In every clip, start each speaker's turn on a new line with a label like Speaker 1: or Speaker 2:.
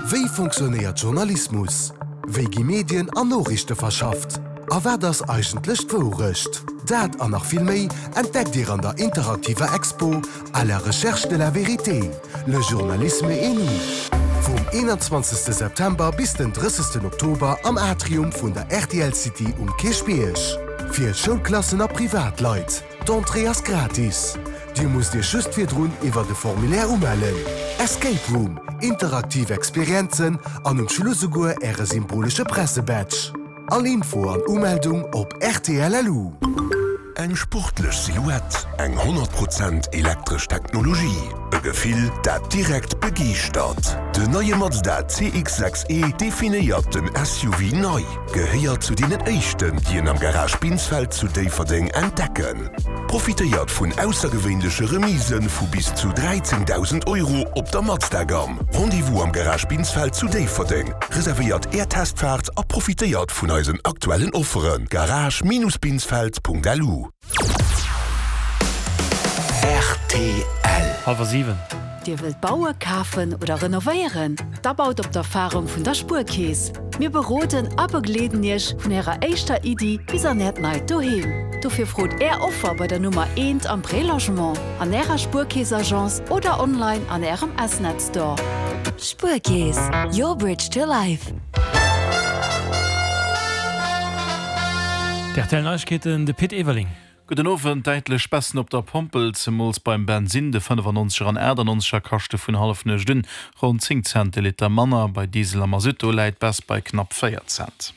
Speaker 1: Wéi fonctionnéiert Journalismus? Wéi gi Medien an Noriichte verschafft? A wat ass eigentlech d'Wourecht? Dat an nach vill méi entdeckt Dir an der interaktiver Expo À la recherche de la vérité, le journalisme et nous vum 21 September bis den 30 Oktober am Atrium vun der rtl City um Kierchbierg. Fir Schoulklassen a Privatleit. D'Entrée ass gratis. Dir musst Iech just virdrun iwwert e Formulaire umellen. Escape Room, interaktiv Experienzen an um Schluss esouguer Äre symbolesche Pressebadge. All Info an Umeldung op rtl.lu.
Speaker 2: Eng sportlech Silhouette, eng 100 Prozent elektresch Technologie, e Gefill, dat direkt begeeschtert. Den neie Mazda CX-6 E definéiert den SUV nei. Gehéiert zu deenen éischten, déi en am Garage Binsfeld zu Déifferdeng entdecken. Profitéiert vun aussergewéinleche Remisë vu bis zu 13.000 Euro op der Mazda-Gamm. Rendez-vous am Garage Binsfeld zu Déifferdeng. Reservéiert Är Testfaart a profitéiert vun eisen aktuellen Offeren. Garage-binsfeld.lu.
Speaker 3: Rtl.
Speaker 4: Halwer 7.
Speaker 5: Dir wëllt baue, kafen oder renovéieren? Da baut op d'Erfarung vun der Spuerkeess! Mir beroden a begleeden Iech vun Ärer éischter Iddi bis an Äert neit Doheem. Dofir frot Är Offer bei der Nummer eent am Prélogement, an Ärer Spuerkeess-Agence oder online an Ärem S-Net Store.
Speaker 3: Spuerkeess, your bridge to life.
Speaker 4: D'RTL Neiegkeeten, de Pit Everling.
Speaker 6: Gudden Owend. Däitlech Baissen op der Pompel, zemools beim Bensinn. De 95er an 98er kaschte vun Hallefnuecht un ronn 10 Cent de Liter manner. Bei Diesel a Masutt, do läit d'Baisse bei knapp 4 Cent.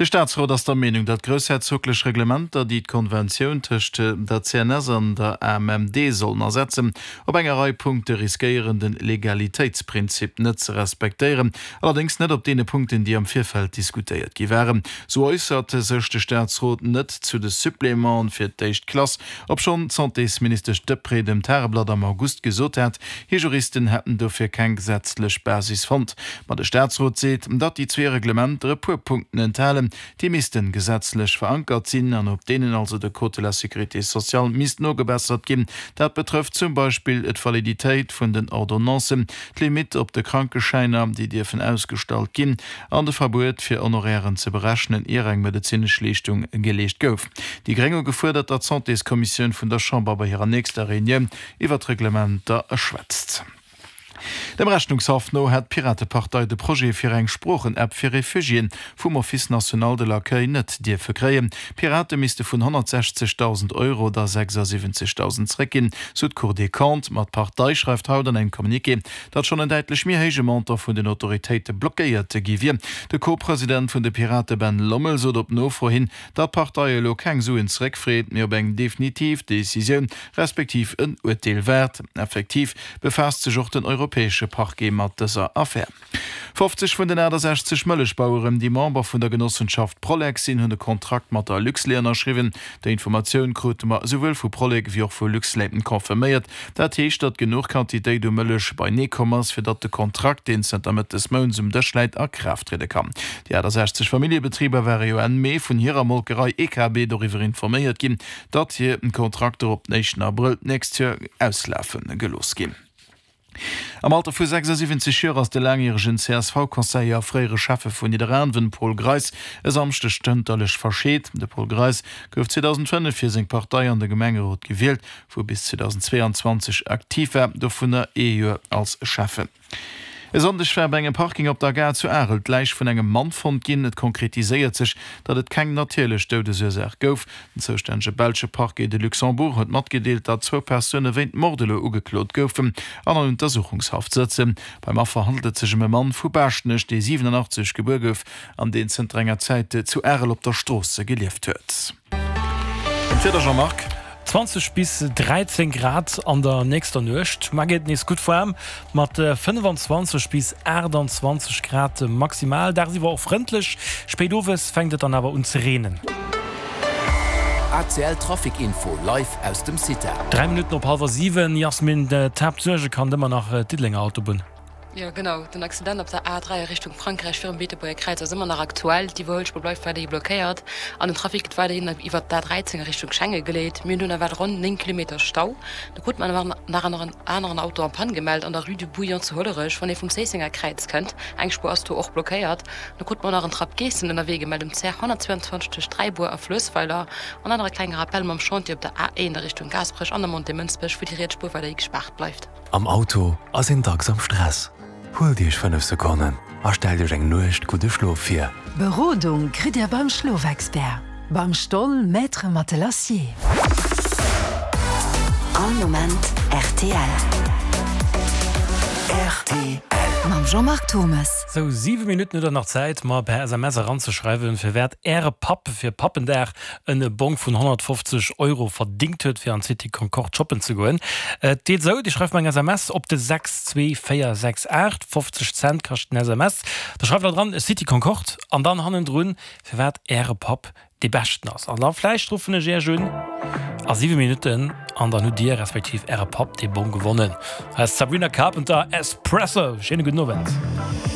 Speaker 6: De Staatsrot ass der Meenung, datt groussherzoglech Reglementer, déi d'Konventioun tëscht der CNS an der AMMD sollen ersetzen, op enger Rei Punkte riskéieren, de Legalitéitsprinzip net ze respektéieren. Allerdéngs net op deene Punkten, déi am Virfeld diskutéiert gi waren. Sou äussert sech de Staatsrot net zu de Supplémenten fir d'éischt Klass, obschonn d'Santésministesch Deprez dem Tageblatt am August gesot hat, hir Juristen hätten dofir keng gesetzlech Basis fonnt. Ma de Staatsrot seet, datt déi zwee Reglementer e puer Punkten enthalen, déi missten gesetzlech verankert sinn an op deenen also de Code de la sécurité sociale misst nogebessert ginn. Dat betrëfft zum Beispill d'Validitéit vun den Ordonnancen, d'Limitt op de Krankeschäiner, déi dierfen ausgestallt ginn, an de Verbuet fir Honorairen ze berechnen, ier eng medezinesch Leeschtung geleescht gouf. Déi Gréng hu gefuerdert, datt d'Santéskommissioun vun der Chamber bei hirer nächster Reunioun iwwer d'Reglementer schwätzt. Dem Rechnungshaff no hätt d'Piratepartei de Projet fir eng Sproochen-App fir Refugiéen vum Office national de l'accueil net dierfe kréien. D'Pirate misste vun 160.000 Euro der 76.000 zréckginn, sou d'Cour des Comptes. Ma d'Partei schreift haut an engem Communiqué, datt schonn en däitlech méi héije Montant vun den Autoritéite blockéiert gi wier. De Co-President vun de Pirate Ben Lommel sot op Nofro hin, datt d'Partei elo keng Suen zeréckfreet, mee op eng definitiv Decisioun respektiv en Urteel waart. Effektiv befaasst sech och den europäesche Parquet mat dëser Affär. 50 vun den 68 Mëllechbaueren, déi Member vun der Genossenschaft Prolec sinn, hunn e Kontrakt mat der Luxlait ënnerschriwwen. Déi Informatioun krute mer esouwuel vu Prolec wéi och vu Luxlait confirméiert. Dat heescht, datt genuch Quantitéit u Mëllech beinee komm ass, fir datt de Kontrakt, deen zënter Mëtt des Mounts um Dësch läit, a Kraaft triede kann. Déi 68 Familljebetriber ware jo Enn Mee vun hirer Molkerei EKB doriwwer informéiert ginn, datt hir Kontrakter op den éischten Abrëll d'nächst Joer auslafe gelooss ginn. Am Alter vu 76 Joer ass de laangjäregen CSV-Conseiller a fréiere Schäffe vun Nidderaanwen, Paul Greis, e Samschdeg stënterlech verscheet. De Paul Greis gouf 2005 fir seng Partei an de Gemengerot gewielt, wou e bis 2022 aktiv war, dovunner ee Joer als Schäffen. E Sonndeg war bei engem Parking op der Gare zu Arel d'Läich vun engem Mann fonnt ginn. Et konkretiséiert sech, datt et keng natierlech Doudesursaach gouf. Den zoustännege belsche Parquet de Luxembourg huet matgedeelt, datt zwou Persoune wéint Mord elo ugeklot goufen an an Untersuchungshaft sëtzen. Beim Affer handelt et sech ëm e Mann vu Baaschtnech, dee 87 gebuer gouf an deen zënter enger Zäit zu Arel op der Strooss gelieft huet. An d'Wieder, Jean-Marc?
Speaker 4: 20 bis 13 Grad an der nächster Nuecht. Mar geet et nees gutt waarm mat 25 bis 28 Grad maximal. Dagsiwwer och frëndlech, spéit owes fänkt et dann awer un ze reenen.
Speaker 3: ACL Trafic Info live aus dem CITA.
Speaker 4: 3 Minutten op hallwer 7, Jasmin, d'Haaptsuerge kann ëmmer nach d'Diddelenger Autobunn.
Speaker 7: Jo genau, den Accident op der A3 a Richtung Frankräich virum Beetebuerger Kräiz ass ëmmer nach aktuell. D'Iwwerhuelspuer bleift weiderhi blockéiert an den Trafic gëtt weiderhin iwwert d'A13 a Richtung Schengen geleet. Mir hunn do nawell ronn 9 Kilometer Stau. Do krut mer nach en aneren Auto en panne gemellt an der Rue du Bouillon zu Hollerech, wann ee vum Zéissenger Kräiz kënnt. Eng Spuer ass do och blockéiert. Do krut mer nach en Trapp Geessen ënnerwee gemellt um CR 122 tëscht Dräibuer a Fluessweiler. An dann nach e klenge Rappel mam Chantier op der A1 a Richtung Gaasperech an der Montée Mënsbech, wou déi riets Spuer weiderhi gespaart bleift.
Speaker 1: Am Auto ass een dacks am Stress. Huelt Iech 5 Sekonnen a stellt Iech eng Nuecht gudde Schlof vir.
Speaker 5: Berodung kritt Dir beim Schlofexpert, beim Stoll Maître Matelassier.
Speaker 3: All Moment rtl.
Speaker 1: Rtl.
Speaker 3: Mam Jean-Marc Turmes.
Speaker 4: Sou, 7 Minutten hutt der nach Zäit, mer per SMS eranzeschreiwen, firwat Äre Papp fir Pappendag en Bong vun 150 Euro verdingt huet fir an d'City Concorde shoppen ze goen. Et geet esou, Dir schreift mer eng SMS op de 62468, 50 Cent kascht den SMS. Da schreift der dran City Concorde an dann hannendrun firwat Äre Papp dee beschten ass. An da vläicht ruffen ech Iech un a 7 Minutten an dann hutt Dir respektiv Äre Papp dee Bong gewonnen. Hei ass d'Sabrina Carpenter, Espresso. Schéine gudden Owend.